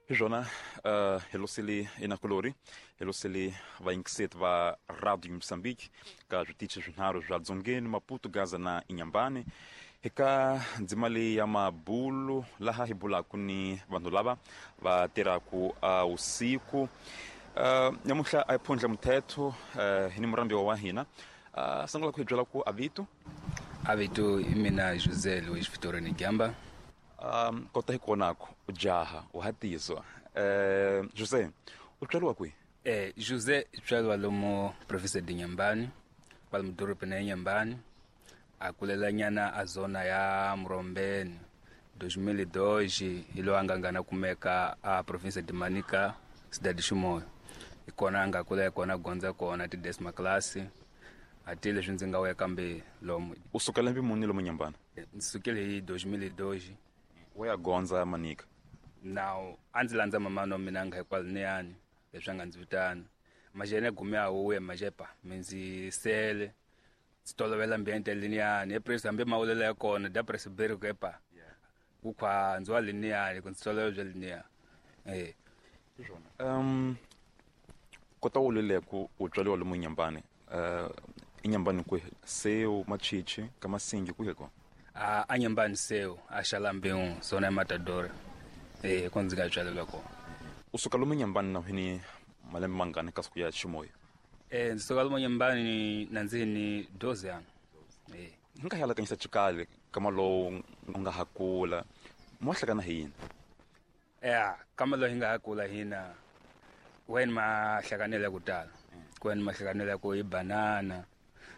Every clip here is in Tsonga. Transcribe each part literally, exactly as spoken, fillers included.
Hi swona uh, hi losele inakulori hi losele vayingiseti va Radio Mozambique ka switichi swinharhu swa Dzongeni, Maputo, Gaza na Inhambane eka ndzima leyi ya mabulu laha hi bulaka ni vanhu lava va tirhaka uh, usiku. Uh, nyamuhla a hi phundla muthetho uh, hi ni murambiwa wa hina. Uh, sungula ku hi byela ku avito avito i mina José Luiz Vitorino Gamba. Um, kota hi konako ujaha uhatizwa. Eh, José, u tswariwa kwihi? Eh, José tswariwa lomu province de Inhambane, kwala mudorobeni ya Inhambane, a kulela nyana a zona ya Murombeni. dois mil e dois hi loyi a nga ngana kumeka a province de Manica, cidade de Chimoio. Hi kona a nga kula hi kona gondza kona ti décima classe. A ti leswi ndzi nga weka kambe lomu. U suka lembe muni lomu Inhambane? Ndzi sukile hi dois mil e dois. Wa ya gondza Manica. Now a ndzi landza mamana wa mina nga hikwaloniyani leswi a nga ndzi vitana. Majene gume a wuya majepa mi ndzi sele ndzi tolovela ambiente liniyani epresi hambi mawulela ya kona da presiberi ku epa ku khwa ndzi wa liniyani ku ndzi tolovela bya liniya. Eh. Um kota u lele ku u tswariwa lomu Inhambane. Uh Inhambane kwihi? Seu, Machichi, Kamasingi kwihi kona? A a Inhambane seu, a Xalambeu, zona ya Matador. Eh, ko ndzi nga tswalelwa kona. U suka lomu Inhambane na hini malembe mangani kasi ku ya Chimoio? Eh, ndzi suka lomu Inhambane na ndzi ni doze ano. Eh. Hi nga halakanyisa xikali kama lowu u nga ha kula. Mo hlakana hi yini? Eh, kama lowu hi nga ha kula hina wena ma hlakanela ku tala. Ku wena ma hlakanela ku hi banana.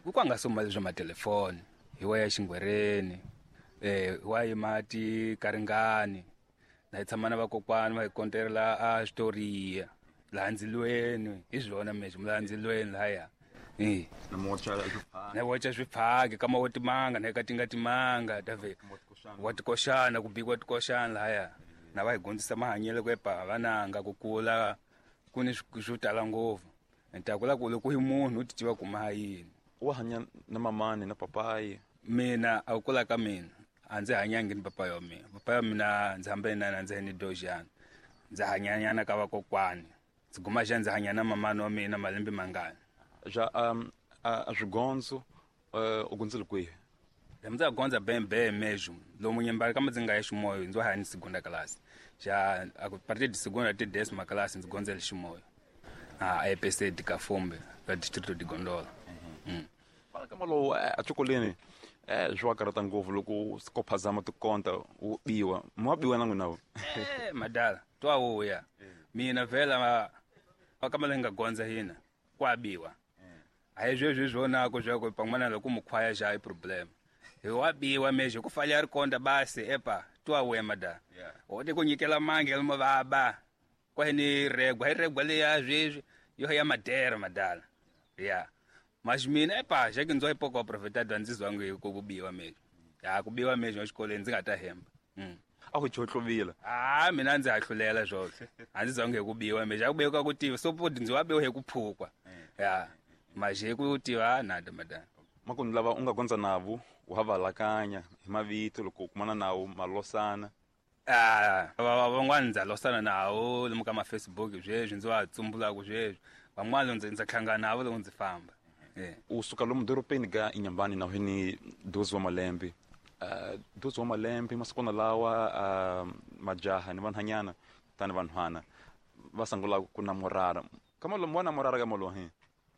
Ku kwa nga suma leswi ma telefoni. Hi wa ya xingwereni. Eh, wa yi mati karingani. Na hi tshama na vakokwani va hi konterela a switoriya. Laha ndzilweni, hi swona mesho, laha ndzilweni lahaya. Eh. Na mocha swipfhaki. Na mocha swipfhaki, kama wo timanga, na ka tinga timanga, tave. Wa tikoxana, ku bikiwa tikoxana lahaya. Na va hi dyondzisa mahanyelo ku epa vananga ku kula ku ni swo tala ngopfu. Ni ta kula ku loko hi munhu u ti tiva ku ma yini. Wa hanya na mamani na papayi? Mina a ku kula ka mina a ndzi hanyangi ni papayi wa mina. Papayi wa mina ndzi hambane na yena ndzi ni dojana. Ndzi hanyanyana ka vakokwani. Ndzi guma xa ndzi hanya na mamani wa mina malembe mangani. Ja um a swigondzo u gondzile kwihi? Ndzi gondza bembe mesmo. Lomu Inhambane kama ndzi nga ya Chimoio ndzi hanya ni segunda classe. Ja a partir de segunda até décima classe ndzi gondzele Chimoio. A E P C de Cafombe, da distrito de Gondola. Mm. Fala kama lowu a xikolweni eh swi wa karata ngopfu loko ko phazama tikonta u biwa. Mo wa biwa na n'wina vo? Eh, madala, twa wuya. Mina vhela kama leyi nga gondza hina kwa biwa. A hi sweswi swonako swa ku pan'wana loko mukhwaya xa i problem. Hi wa biwa mesho ku falha ri konta basi epa twa wuya madala. O te ku nyikela mange lomu va ba. Kwa hi ni regwa, hi regwa leya sweswi yo ya madera madala. Yeah. Mas mina epa xa ki ndzo pouco aproveitado ndzi zwangu hi ku biwa mesho. Ya ku biwa mesho exikolweni ndzi nga ta hemba. Mm. A ku chotluvila. Ah, mina ndzi hahlulela swona. A ndzi zwangu hi ku biwa mesho. A ku biwa ku tiva so podi ndzi wa biwa hi ku phukwa. Ya. Mas hi ku tiva nada madala. Makunu lava u nga gondza navo u ha valakanya hi mavito loko u kumana nawo malosana. Ah, van'wana ndza losana nawo lomu ka ma Facebook sweswi ndzi wa tsumbulaka sweswi. Van'wana ndzi ndzi hlangana navo loko ndzi famba. Eh. U suka lomu dorobeni ga Inhambane na hini doze wa malembe. Uh, doze wa malembe masikona lawa uh, majaha ni vanhanyana tani vanhwana va sungula ku namorara. Kama lomu wa namorara ka molo hi.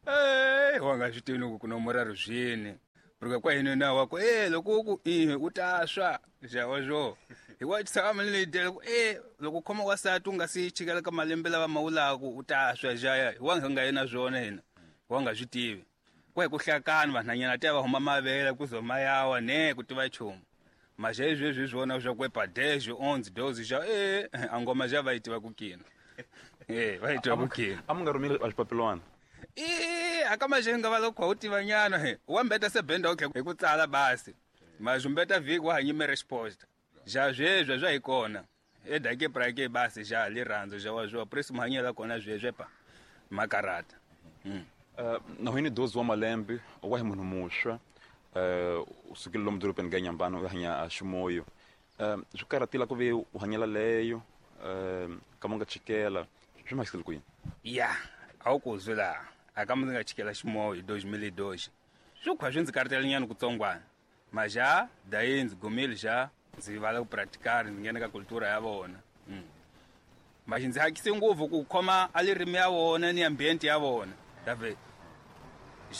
Eh, wa nga swi tivi ku namorara swini. Porque kwa hina na wa ku eh loko ku eh u ta swa ja wa swo. Hi wa tshama ni le ku eh loko khoma wa sati u nga si chikela ka malembe lava mawulaku u ta swa ja ya. Wa nga yena swona hina. Wa nga swi tivi. Kwa ku hlakana vanhanyana ta va huma mavele ku zoma yawa ne ku tiva chumu. Mas hezwi swona swa ku epa dez, onze, doze ja eh a ngoma ja va yi tiva ku kina. Eh va yi tiva ku kina. A mu nga rhumeli a xipapilwana. Eh aka majenga va loko u tiva nyana he. Wa mbeta se benda okay hi ku tsala basi. Mas mbeta viki wa hanyime resposta. Ja zwezwe zwa hi kona. E dake prake basi ja li rhandzo ja wa zwa preso mahanyela kona zwezwe pa makarata. Mm. Uh, na hini doze wa malembe wa hi munhu muxwa uh, u sukile lomu dorobeni ga Inhambane u hanya a Chimoio. Uh, swi karhatile ku ve u hanyela leyo um kama nga chikela swi mahikisele ku yini? Ya a wu ku zwi laha a kama ndzi nga chikela ximoyo hi dois mil e dois swi khwa swi ndzi karitenyana kutsongwana maja dayi ndzi gumile xa ndzi vala ku praticar ndzi nghena ka cultura ya vona. Mm. Maxi ndzi hakise ngopfu ku khoma a lirimi ya vona ni ambiente ya vona dave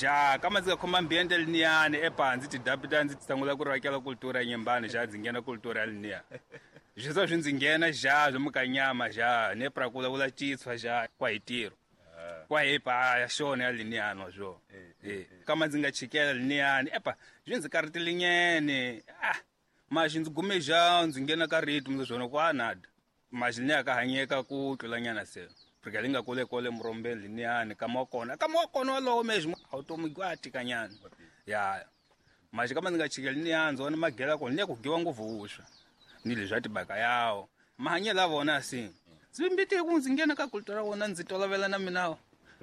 ja kama ndzi nga khoma ambiente liniyani epa ndzi tidapita ndzi sungula ku rakela cultura ya Nyembani ja ndzi nghena cultura ya liniya swi swa swi ndzi nghena ja swi mukanyama ja ne pra ku vulavula Xitswa ja kwa hi tirho kwa hi pa ya xona ya liniyani swo eh kama ndzi nga chikela liniyani epa swi ndzi karitenyene ah maxi ndzi gume ja ndzi nghena ka ritmo ndzi swona kwa nada maxi ni ka hanyeka ku tlulanyana se porque ali nga kule kole murombeni liniyani kama wa kona kama wa kona walowo mesmo a wu tomi gwa tikanyana ya maxi kama ndzi nga chikeli liniyani ndzi vona magela kona ni ku giwa ngopfu vuswa ni leswi a tibaka yawo mahanyelo ya vona si ndzi mbiti ku ndzi nghena ka cultura ya vona ndzi tolovela na mina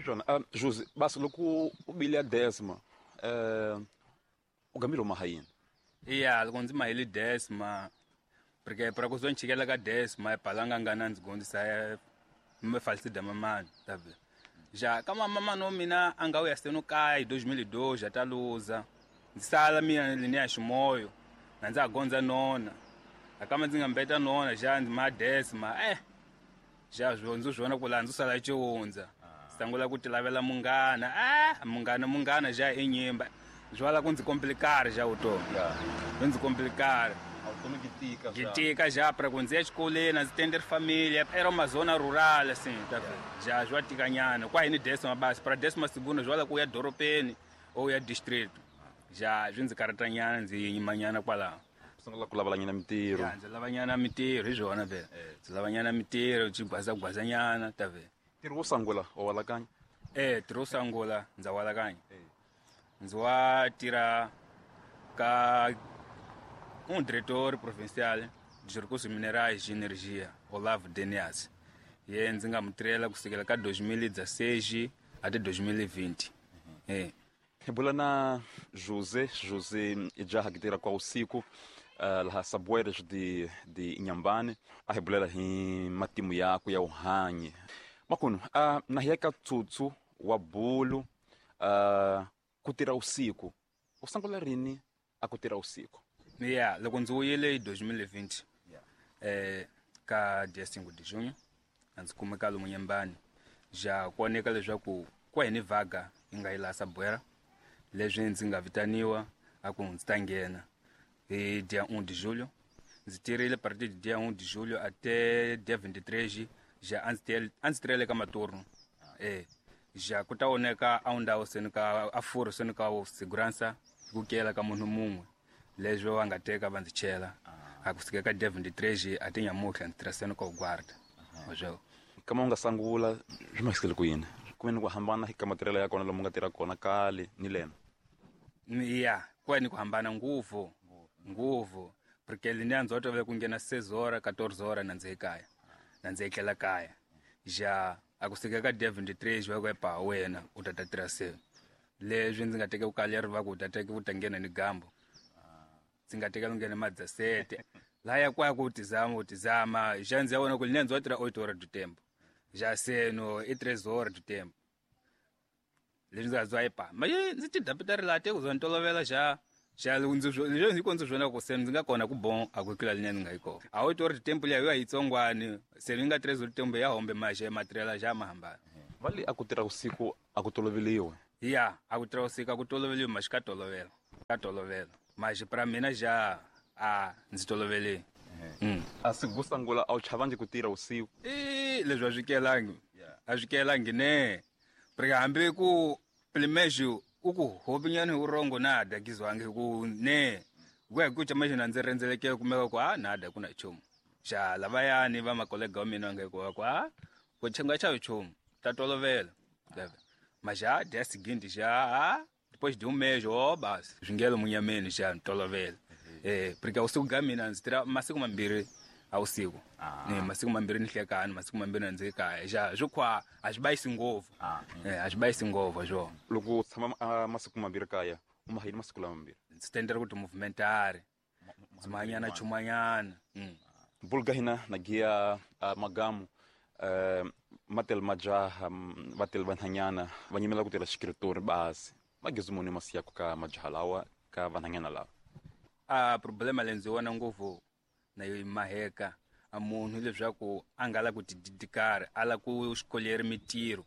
swona. Um, Jose basi loko u bile ya décima um u gamile u maha yini? Ya loko ndzi mahile décima porque para ku zo chikela ka décima epalanga ngana ndzi gondzisa me falsida mamani tabe ja kama mamani wa mina a nga wuya seno kaya hi dois mil e dois a ta luza ndzi sala mina liniya ximoyo na ndza ha gondza nona a kama ndzi nga mbeta nona ja ndzi ma décima eh ja swo ndzi swi vona ku laha ndzi sala ciwundza sangula ku tilavela munghana ah munghana munghana ja i nyimba swi wala ku ndzi complicar ja vutomi swi ndzi complicar vutomi byi tika byi tika ja pra ku ndzi ya exikolweni a ndzi tenderi familia era uma zona rural assim tá ja swi wa tikanyana kwa hini décima basi pra décima segunda swi wala ku ya dorobeni ou ya distrito ja swi ndzi karatanyana ndzi yimanyana kwalaho sungula ku lavalanyana mitirho ya ndzi lavanyana mitirho hi swona vhela ndzi lavanyana mitirho byi gwazagwazanyana ta vhela. Ntirho wo sungula wa walakanya? Eh ntirho wo sungula ndza walakanya ndzi wa tirha ka um diretor provincial de recursos minerais de energia Olavo Denias ye ndzi nga mu tirhela kusukela ka dois mil e dezesseis até dois mil e vinte. Eh hi bula na José José i jaha ki tirha kwa usiku uh, laha Saboeras de de Inhambane a hi bulela hi matimu yakwe ya wuhanyi makunu uh, na hi ya ka tsutsu wa bulu uh, ku tirha usiku u sungula rini a ku tirha usiku? Ya loko ndzi wuyile hi dois mil e vinte eh ka dia cinco de junho a ndzi kumeka lomu Nyembani ja ku oneka leswaku kwa hini vaga yi nga yi laha Saboeira leswi ndzi nga vitaniwa a ku ndzi ta nghena hi dia um de julho ndzi tirhile partir de dia um de julho até dia vinte e três ja a ndzi a ndzi tirhele ka maturno eh ja ku ta oneka a ndhawu seni ka a furo seni ka segurança ku kela ka munhu mun'we leswi va nga teka va ndzi chela a kusuka ka dia vinte e três até nyamutlha ndzi tirha seni ka u guarda oswo kama u nga sungula swi mahikisele ku yini ku ni ku hambana hi ka matirhelo ya kona lomu nga tirha kona kale ni lena? Ya ku ni ku hambana ngopfu ngopfu porque liniya ndzi tolovele ku nghena seis horas quatorze horas na ndzi ekaya na ndzi etlela kaya ja a kusuka ka dia vinte e três va ku epa wena u ta ta tirha se leswi ndzi nga teka ku kale ri va ku u ta teka u ta nghena ni gambo ndzi nga teka nghena ma dezessete laya kwa ku tizama u tizama ja ndzi ya vona ku liniya ndzi wa tirha oito horas do tempo ja seno i três horas do tempo leswi ndzi nga zwa epa ma ndzi tidapita ri laha te ku za ni tolovela ja ja ndzi leswi ndzi ndzi swona ku se ndzi nga kona ku bon a ku tlula liniya ndzi nga yi kona a oito horas do tempo liya yo yitsongwani se ni nga três horas do tempo ya hombe maxe matirhela ja ma hambana. Va le a ku tirha usiku a ku toloveliwe? Ya a ku tirha usiku a ku toloveliwe maxi ka tolovela ka tolovela maxi pra mina ja a ndzi tolovele. Mm. A siku ro sungula a wu chavangi ku tirha usiku? I leswi a swi kelangi a swi kelangi ne porque hambi ku primeiro u ku hopinyana hi urongo nada kizwangi ku ne ku ya ku chama xina ndzi rhendzeleke kumeka ku a nada ku na nchumu xa lavayani va makolega wa mina va nga ku ku a ku chenga cha nchumu ta tolovela mas já dia seguinte já depois de um mês oh basi swi ngelo munyameni xa tolovela eh porque usiku ga mina ndzi tirha masiku mambirhi a usiku ne masiku mambirhi ni hlekani masiku mambirhi ndzi kaya ja swi khwa a swi bayisi ngopfu eh a swi bayisi ngopfu swo loko u tshama masiku mambirhi kaya u mahini masiku lama mambirhi ndzi tendela ku ti movimentari ndzi mahanyana chumanyana mm Bulga hina na gia uh, magamu uh, matel majaha um, vatel vanhanyana va nyimela ku tirha xikiritori basi magezu muni masiyaku ka majaha lawa ka vanhanyana lawa. A problema leyi ndzi vona ngopfu na yo maheka a munhu leswaku a nga la ku tididikari a la ku xikoleri mitirho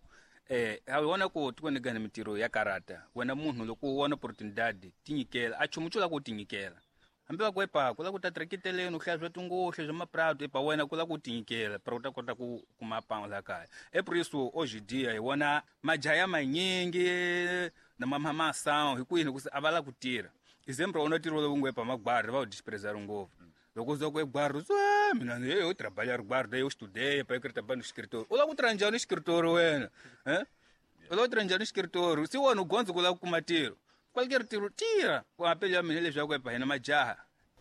eh a vona ku tikweni gani mitirho ya karata wena munhu loko u vona opportunidade tinyikela a chumu xo la ku tinyikela hambi va ku epa ku la ku ta trekiteleni u hlaya swa tingohle swa maprado epa wena ku la ku tinyikela para u ta kota ku kuma pão la kaya. É por isso hoje em dia hi vona majaha ya manyingi na mamamasão hi ku yini ku a va la ku tirha. Exemplo wona ntirho lowu ngo epa magwari va wu desprezar ngopfu. Loko uza ku egwari u mina eu trabalhar guarda eu estudei para eu trabalhar no escritório. U la ku tirha njhani no escritório wena? Eh? U la ku tirha njhani no escritório? Se wena u gondza ku la ku kuma ntirho. Qualquer tiro tira ku apelo ya mina leswaku epa hina majaha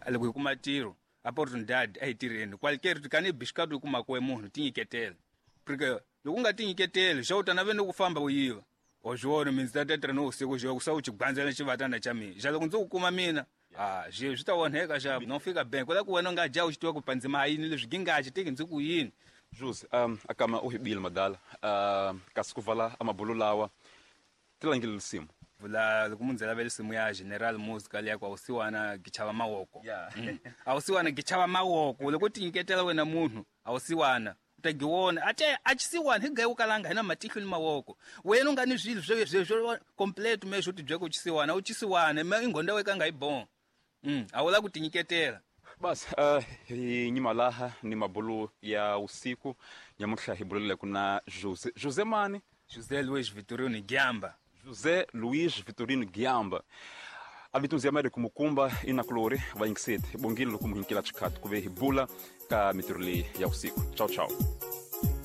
loko hi kuma tiro opportunidade a hi tirheni qualquer kani bixikatu hi kumaka munhu tinyiketela porque loko u nga tinyiketeli xa u ta naveni ku famba u yiva o swi mina ndzi ta tirha no usiku xo ku sa u xigwandzela xivatana xa mina xa loko ndzi ku kuma mina ah swi swi ta onheka xa no fika bank ku la ku wena u nga dya u xi tiva ku pandzima ha yini leswi gingaxi tiki ndzi ku yini. Jose um akama u hibile madala uh, kasi ku vala amabulu lawa tilangile lisimu vula loko munhu lavela simu ya General Musical ya ku awusiwana gichava mawoko yeah. Awusiwana gichava mawoko loko tinyiketela wena munhu awusiwana u ta giwona ate a chisiwana hi gayi ukalanga hina matihlo ni mawoko wena u nga ni swilo swo swo complete me swo tibye ku chisiwana u chisiwana me ingonda weka nga yi bon mm a wu la ku tinyiketela. Basi uh, hi nyima laha ni mabulu ya usiku nyamuhla hi bulele ku na Jose Jose mani Jose Luiz Vitorino Giamba. José Luiz Vitorino Giamba avitunzi ya Américo Mukumba inakulori va yingiseti bongile loko muhinkela xikhathi ku ve hi bula ka mitirho leyi ya usiku. Tchau tchau.